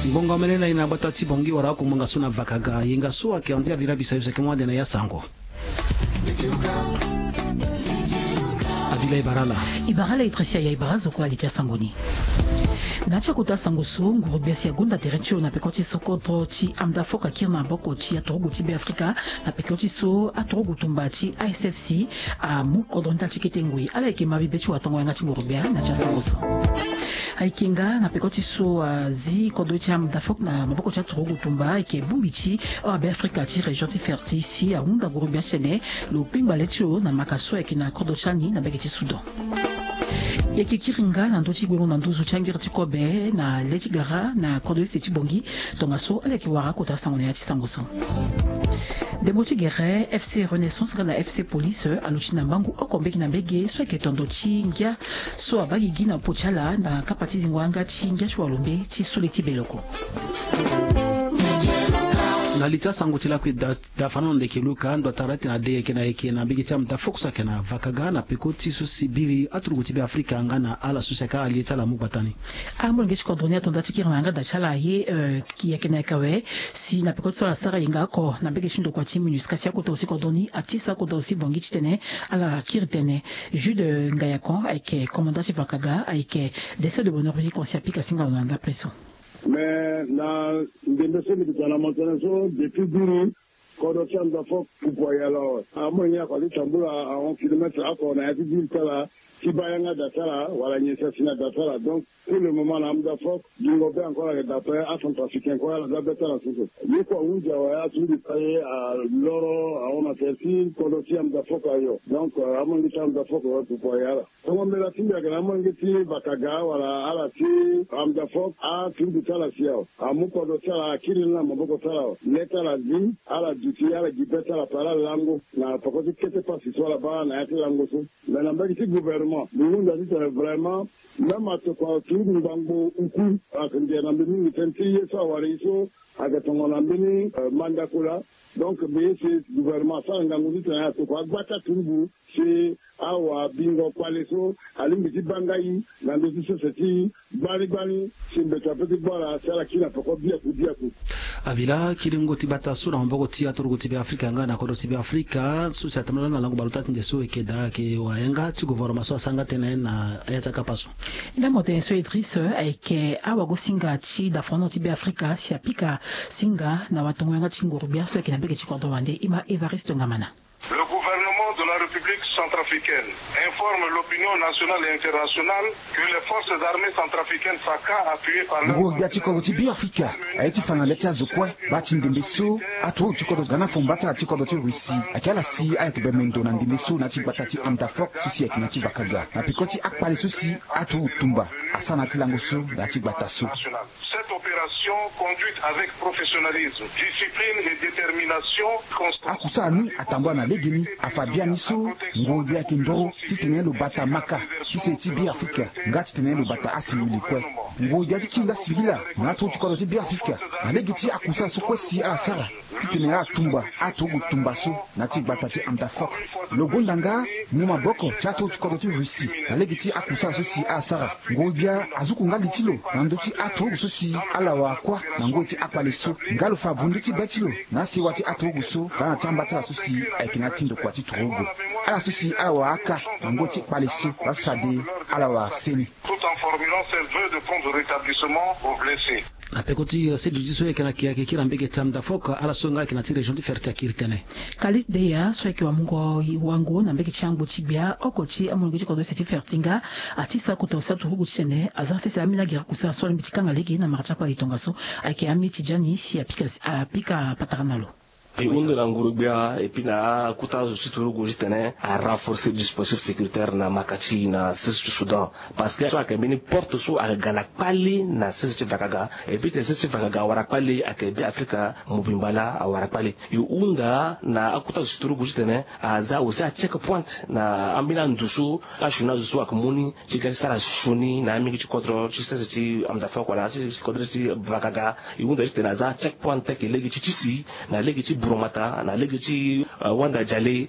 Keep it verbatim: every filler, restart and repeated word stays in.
Ngbonga omene na ye na gbata ti Bangui wala oko ngbonga so na Vakaga, yenga so ayeke andia vira bisayo seke mo ande na ya sango. Avila e bara ala. E bara ala e tresia ya e bara zo kue ali ti asango ni. Na ya ti akota sango so nguru gbia si agonda tere ti lo na peko ti so kodro ti Amdafoc akiri na maboko ti aturugu ti Beafrika na peko ti so aturugu tumba ti A S F C amu kodro ni ti ala ti kete ngoi. Ala yeke ma bibe ti watongo yanga ti nguru gbia na ya ti asango so. Ayeke nga na peko ti so azi kodro ti Amdafoc na maboko ti aturugu tumba ayeke bongbi ti awa Beafrika ti région ti Ferti si ahunda nguru gbia ti tene lo kpengba le ti lo na maka so ayeke na kodro ti ani na mbage ti Soudan. E yeke kiri nga na ndö ti gbengo na nduzu ti angiri ti kobe na le ti gara na kodro ese ti Bangui. Tongaso ala yeke wara kota sango na ya ti sango so. Ndembo ti gere F C Renaissance nga na F C Police aluti na mbangu oko mbege na mbege so ayeke tondo ti ngia so abaa gigi na popo ti ala na kapa ti zingo yanga ti ngia ti walombe ti sule ti beloko. Na li ti asango ti lakui da, da fana na ndeke Luka ndo atara tene ade yeke na yeke na mbege ti Amdafoc so ayeke na Vakaga na peko ti so si biri aturugu ti Beafrika nga na ala so si ayeke alie ti ala amu gbata ni. Amolenge ti kodro ni ato nda ti kiri na yanga da ti ala aye, eh, yeke na yeke awe si na peko ti so ala sara yenga oko na mbege ti ndokua ti MINUSCA si akota aussi kodro ni atisa akota aussi Bangui titene ala kiri tene. Jude Ngayakon ayeke commandant ti Vakaga ayeke décès de bonheur mbi ti kon si apika singa lo na ndapre so. Mais na ndembe so mbi yeke tene na mo tënë so depuis biri kodro ti Amdafoc pupu ayala awe. Amolenge ni ako ali tambula ahon kilomètre oko na ya ti ville ti ala ti baa yanga da ti ala wala nyen si asi na da ti ala. Donc pour le moment na Amdafoc gingo be encore ayeke da ape, acentrafricain kue ala za be ti ala so so. Ye kue ahunzi awe, atundu ti aye aloro ahon na tere ti kodro ti Amdafoc ayo. Donc, euh, amolenge ti Amdafoc awe pupu ayala. Tongo mbela ti mbi ayeke na amolenge ti Vakaga wala ala ti Amdafoc, atundu ti ala si awe. Amu kodro ti ala akiri ni na maboko ti ala awe. Le ti ala zi, ala duti, ala gi be ti ala ape, ala lango na peko ti kete pasi so ala baa na ya ti lango so. Mais na mbage ti gouvernement mbi hunda titene vraiment même atokua ti ngbangbo uku ayeke ndia na mbi mingi tënë ti ye so awara e so ayeke tongana mbeni, euh, mandakula. Donc mbi ye si gouvernement asara ngangu titene atokua agba ti aturugu si awabingo kpale so alingbi ti baa ngai na ndö ti sese ti gbani gbani si mbeto ape ti gbu ala si ala kiri na peko biaku biaku. Avila, kiringo ti gbata so na maboko ti aturugu ti Beafrika nga na kodro ti Beafrika so si atambula na lango baleota ti nde so eke daa ayeke wara yanga ti gouvernement so asara nga tënë na ya ti akapa so. Ndambo tënë so Idriss ayeke awagosinga ti dafono ti Beafrika si apika singa na watongo yanga ti nguru gbia so ayeke na mbage ti kodro wande. Ima Évariste Ngamana. Le gouvernement de la République centrafricaine informe l'opinion nationale et internationale que les forces armées centrafricaines Faka, appuyées par leur... Nguru gbia ti kodro ti Beafrika aye ti fa na le ti azo kue baa ti ndembe so aturugu ti kodro ga na fo mbatara ti kodro ti Russie ayeke ala si ala yeke bembe ndo na ndembe so na ya ti gbata ti Amdafoc so si ayeke na ya ti Vakaga na peko ti akpale so si aturugu tumba asara na ya ti lango so na ya ti gbata so. Cette opération, conduite avec professionnalisme, discipline et détermination, constance. Akusala ni atambula na legeni, afa biani so nguru gbia ayeke ndoro titene lo bata maka ti se ti Beafrika nga titene lo bata asingili kue. Nguru gbia ti kiri nga singila na aturugu ti kodro ti Beafrika na lege ti akusala so kue si ala sara titene ala tumba aturugu tumba so na ya ti gbata ti Amdafoc. Lo gonda nga mu maboko ti aturugu ti kodro ti Russie na lege ti akusala so si ala sara. Nguru gbia azuku nga li ti lo na ndö ti aturugu so si ala wara kuâ na ngoi ti akpale so. Nga lo fa vundu ti be ti lo na asewa ti aturugu so nga na ti ambatara so si ayeke na ya ti ndokua ti turugu. Ala so si ala wara aka na ngoi ti kpale so, la si fade ala wara seni. Tout en formulant ses vœux de prompt rétablissement aux blessés. Na peko ti, eh, sedi ti so e yeke na ke ayeke kiri na mbage ti Amdafoc, ala so nga ayeke na ti région ti Ferti akiri tënë. Kalis Deya so ayeke wamungo wango na mbage ti angbo ti gbia oko ti amolenge ti kodro ese ti Ferti nga ati sa kota ose aturugu titene aza sese ambeni agere kusala so alingbi ti kanga lege na mara ti akpale tongaso. Ayeke ami Tidjani si apika, apika patara na lo. E hunda na nguru gbia et puis na akota zo ti turugu titene a renforcer dispositif sécuritaire na maka ti e na sese ti Soudan. Parce que so ayeke mbeni porte so ayeke ga na kpale na sese ti Vakaga. Et puis tene sese ti Vakaga awara kpale, ayeke Beafrika mobimba laa awara kpale. E hunda na akota zo ti turugu titene aza aussi acheck point na ambeni ando so asioni azo so ayeke mu ni ti ga ti sara sioni na amolenge ti kodro ti sese ti Amdafoc wala sese ti kodro ti Vakaga. E hunda titene aza check point ayeke lege ti tisi na lege ti buromata na lege ti, eh, wanda jale